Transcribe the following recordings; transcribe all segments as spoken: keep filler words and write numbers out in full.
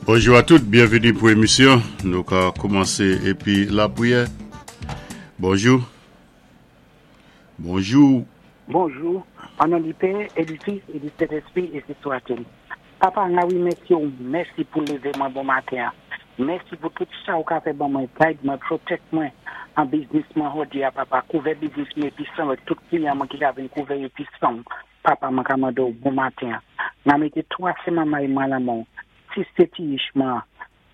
Bonjou a tout, byenvini pou émisyon. Nou ka koumansé épi lapriyè. Bonjou. Bonjou. Bonjou, an non di Pè, é di Fis, é di Sentespwi, ensi swat-il. Papa, nga wimèsi ou, mèsi pou lévé mwen bon maten. Mèsi pou tout sa ou ka fè ban mwen, guide mwen, protect mwen an business mwen jòdi a, papa. Kouvè business mwen épi san avèk tout kliyan mwen ki ka vin kouvè épi san. Papa, mwen ka mandé ou bon maten. Nga mété twa sé manmay mwen lan men ou, sis sé ti ich mwen,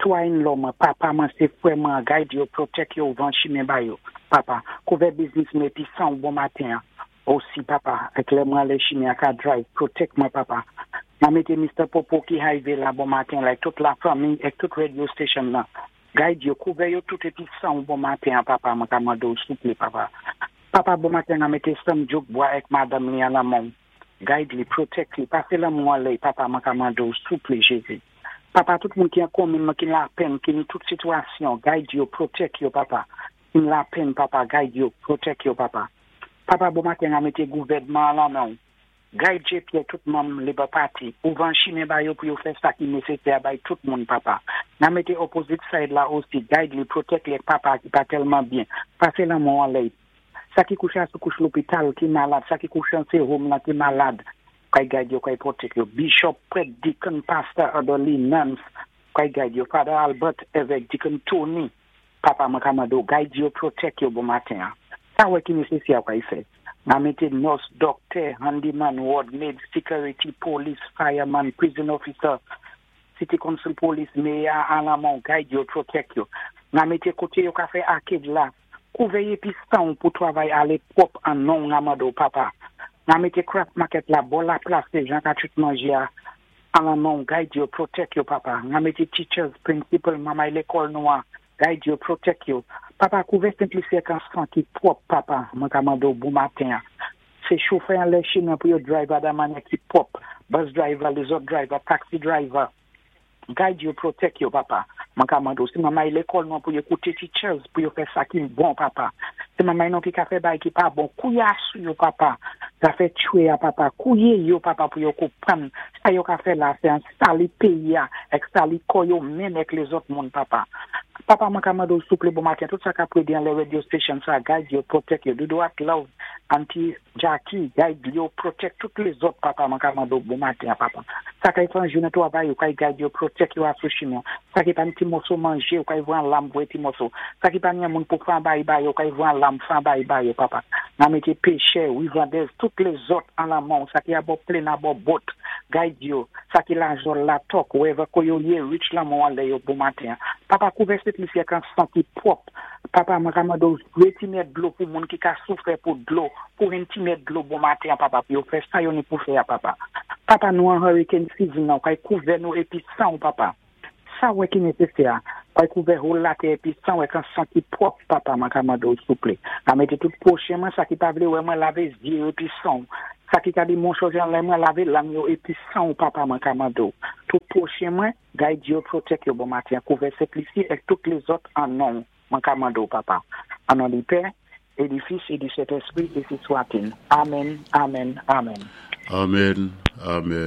twa in-law mwen, papa mwen sé frè mwen, guide yo, protect yo, ouvan chimen ba yo. Papa, kouvè business mwen épi san ou bon maten. Osi, papa, èk lè mwen lé chimen a ka drive, protect mwen, papa. Nga mété Mister Popo ki highway la bon maten, like tout la fanmi, èk tout radio station la. Guide yo, kouvè yo tout épi san ou bon maten, papa, mwen ka mandé ou souplé, papa. Papa, bon maten, nga mété Sam Jouk Bois èk madanm li an lan men ou. Guide li, protect li, pasé lanmen ou anlè, papa, mwen ka mandé ou souplé, Jézi. Papa, tout moun ki an komin mwen ki lapenn, ki ni tout sitwasyon, guide yo, protect yo, papa. Ki lapenn, papa, guide yo, protect yo, papa. Papa, bon maten, nga mété gouvèdman lan men ou. Guide J. Pierre, tout manm Labour Party, ouvan chimen ba yo pou yo fè sa ki nésésè bay tout moun, papa. Nga mété opposite side la osi, guide li, protect li, papa, ki pa tèlman byen. Pasé lanmen ou anlè. Sa ki kouché sou kouch lopital ki malad, sa ki kouché an sé home la ki malad, kay guide yo, kay protect yo. Bishop, prêt, deacon, pastor, elderly, nuns, kay guide yo. Father Albert, évèk, Deacon Tony, papa mwen ka mandé ou, guide yo, protect yo bon maten. Sa wè ki nésésè kay fè. Nga mété nurse, doctor, handyman, ward maid, security, police, fireman, prison officer, city council police, mayor, an lan men ou, guide yo, protect yo. Nga mété koté yo ka fè arcade la, kouvè épi san pou travay alé pwòp an non nga mando, papa. Nga mété craft market la, bò la plas sé jan ka chut manjé a, an lan men ou, guide yo, protect yo, papa. Nga mété teachers, principal, mamay lékòl nou an, guide yo, protect yo. Papa, kouvè Sent-Lisi an san ki pwòp, papa, mwen ka mandé ou bon maten. Sé chofè an lè chimen pou yo drive dan mannyè ki pwòp. Bus driver, lézòt driver, taxi driver. Guide yo, protect yo, papa. Mwen ka mandé ou. Sé mamay lékòl nou pou yo kouté teachers, pou yo fè sa ki bon, papa. Sé mamay nou ki ka fè bay ki pa bon. Kouya sou yo, papa. Zafè tchwé a, papa. Kouwé yo, papa, pou yo konprann. Sa yo ka fè la, sé an sali péyi a, èk sali kò yo menm èk lézòt moun, papa. Papa, mwen ka mandé ou souplé bon maten. Tout sa ka prédé an lè radio station sa, guide yo, protect yo. Dodo ak Love, Auntie Jackie, guide yo, protect tout lézòt, papa, mwen ka mandé ou bon maten, papa. Sa kay fè an jounen twavay, yo kay guide yo, protect yo asou chimen. Sa ki pa ni ti moso manjé, yo kay vwan lam vwe ti moso. Sa ki pa ni an moun pou fè an bay bay, yo kay vwan lam fè an bay bay yo, papa. Nga mété péchè, wivandèz, tout lézòt an lan men ou. Sa ki abò plane, abò boat, guide yo. Sa ki la jol la tok, wherever ko yo yé, reach lanmen ou anlè yo bon maten. Papa, kouvè Sent-Lisi an san ki pwòp. Papa, mwen ka mandé ou voyé ti mèt dlo pou moun ki ka soufwé pou dlo, pou yon ti mèt dlo bon maten, papa, pou yo fè sa yo ni pou fè, papa. Papa, nou an hurricane season nan, kay kouvè nou épi san, papa. Sa wè ki nésésè, kay kouvè whole latè épi san wè kan san ki pwòp, papa, mwen ka mandé ou souplé. A mété tout pwochen mwen, sa ki pa vlé wè mwen lavé zyé yo épi san. Sa ki ka di moun chanje an lè mwen lavé lang yo épi san, papa, mwen ka mandé ou. Tout pwochen mwen, guide yo, protect yo bon maten, kouvè Sent-Lisi èk tout lézòt an non, mwen ka mandé ou, papa. An non di Pè, é di Fis, é di Sentespwi, ensi swat-il. Amen, amen, amen. Amen, amen.